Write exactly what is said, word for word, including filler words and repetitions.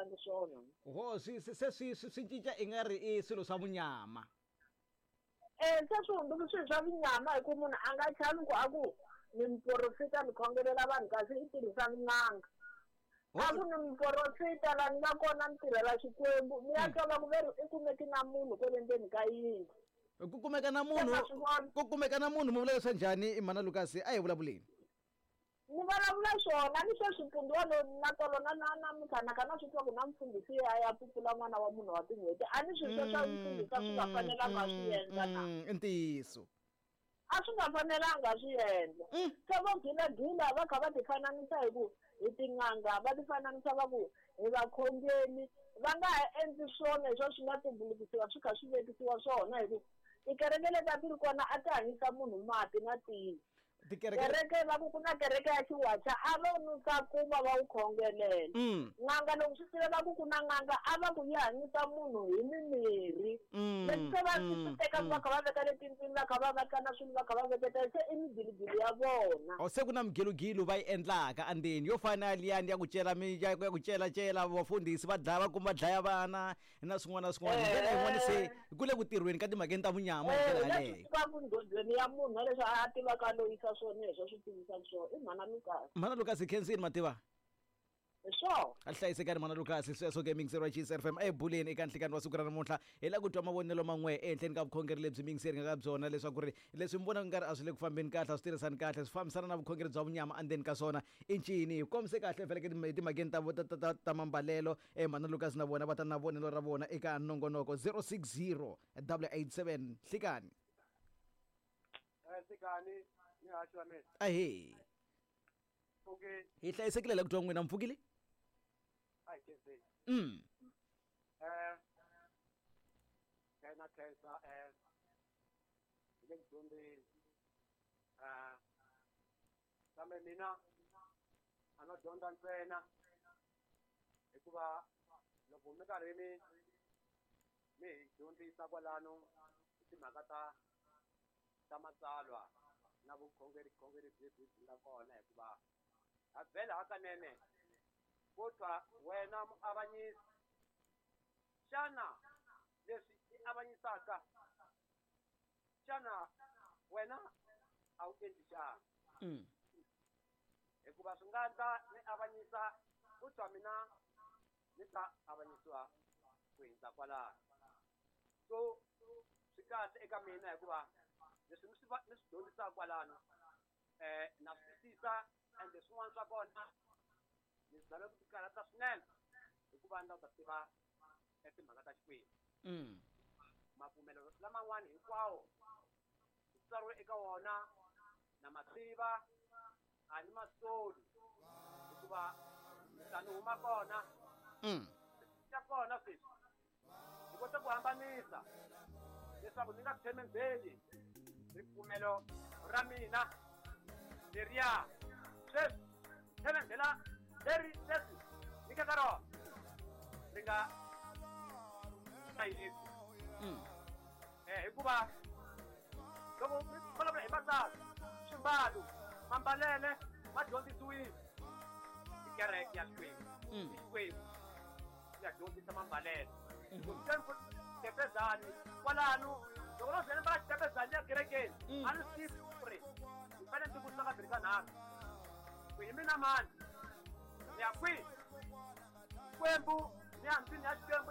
endlangi swona. Ho swi se swi swi cinca i nga ri i swilo swa vunyama. Eh se swi hundzuka swilo swa vunyama hi ku munhu a nga chavi ku a ku ni muporofita ni khongelela vanhu kasi i tirhisa n'anga. A ku ni muporofita la ni nga kona ni tirhela Xikwembu ni ya twa va ku veri i kumeki na munhu kwale ndzeni ka yindlu. Ku kumeka na munhu ku kumeka na munhu mi vula leswa njhani i mhana Lucas a hi vulavuleni. Ni vulavula swona ni sweswi mpfundzi walowo na tolo na na namuntlha na kha na swi twa ku na mfundhisi ya ya pupula n'wana wa munhu wa tin'hweti a ni swilo sweswo mfundhisi a swi nga fanelanga a swi endla na. I ntiyiso. A swi nga fanelanga a swi endla. Se vo gilagila va kha va ti fananisa hi ku hi tin'anga va ti fananisa va ku hi vakhongeli va nga ha endli swona hi swo swi nga tumbulukisiwa swi kha swi vekisiwa swona hi ku tikereke leti a ti ri kona a ti hanyisa munhu mati na tiyi. Kereke va ku ku na kereke ya xiwacha a va nusa kuma va wu khongelela. N'anga loko swi tiva va ku ku na n'anga a va ku yi hanyisa munhu hi mimirhi. Leswi se va swi teka va kha va veka le tindlwini va kha va veka na swilo va kha va veketa se i migilogilo ya vona. O se ku na migilogilo va yi endlaka andzeni yo fana na liyani ya ku cela mi ya ku cela cela vafundhisi va dlaya va kuma dlaya vana na swin'wana na swin'wana. Hi ndlela yin'wana se ku le ku tirhweni ka timhakeni ta vunyama hi ndlela yaleyo. Va ku ndhondzweni ya munhu leswi a tivaka loyisa swona leswi swi tivisaka swona i mhana Lucas. Mhana Lucas hi khensini mativa. Hi swona. A hlayisekani mhana Lucas sweswo ke mingiseri wa Chiefs F M ebuleni eka nhlikani wa siku ra namuntlha hi lava ku twa mavonelo man'we ehenhleni ka vukhongeri lebyi mingiseri nga ka byona leswaku ri leswi mi vonaka ngari a swi le ku fambeni kahle a swi tirhisani kahle swi fambisana na vukhongeri bya vunyama endzeni ka swona i ncini hi kombise kahle vhele ke timhakeni ta ta ta ta mambalelo eh mhana Lucas na vona va ta na vonelo ra vona eka nongonoko zero six zero double eight seven nhlikani. Nhlikani ni haxi wa mina. Ahee. Okay. Hi hlayisekile la ku twa n'wina mpfukile? A hi khenseni. Mm. Eh na khensa eh hi le ku dyondzeni. Eh kambe mina a no dyondza ntsena hikuva loko mi karhi mi mi hi dyondzisa kwalano hi timhaka ta ta matsalwa na vukhongeri khongeri lebyi byi nga kona hikuva ha vhela hakanene kodwa wena muavanyisi xana leswi i avanyisaka xana wena a wu endli xana? Hikuva swi nga endla ni avanyisa kodwa mina ni ta avanyisiwa ku hindza kwalano. So swi kahle eka mina hikuva leswi ni swi ni swi dyondzisaka kwalano eh na swi twisisa ende swin'wana swa kona ni zame ku tikarhata swinene hikuva ni lava ku ta tiva timhaka ta Xikwembu. Mapfumelo laman'wani hinkwawo ku tsariwe eka wona na ma tiva a ni ma soli hikuva ta ni huma kona xa kona sweswi ni kota ku hambanisa leswaku ni nga tshembeli ripfumelo ra mina leriya sweswi tshembela leri leswi ni nga ka rona ri nga hlayisi. Eh hikuva loko mi vulavula hi matsalwa swimbalo mambalele ma dyondzisiwile hi kereke ya Xikwembu. Xikwembu ya dyondzisa mambalele. Xitepezani kwalano loko no vhele va xitepezani ya kerekeni a ni swi tivi ku ri ni fanele ndzi vutisa kambirhi ka nharhu ku hi mina mani ni ya kwihi Xikwembu ni ya ndlwini ya Xikwembu.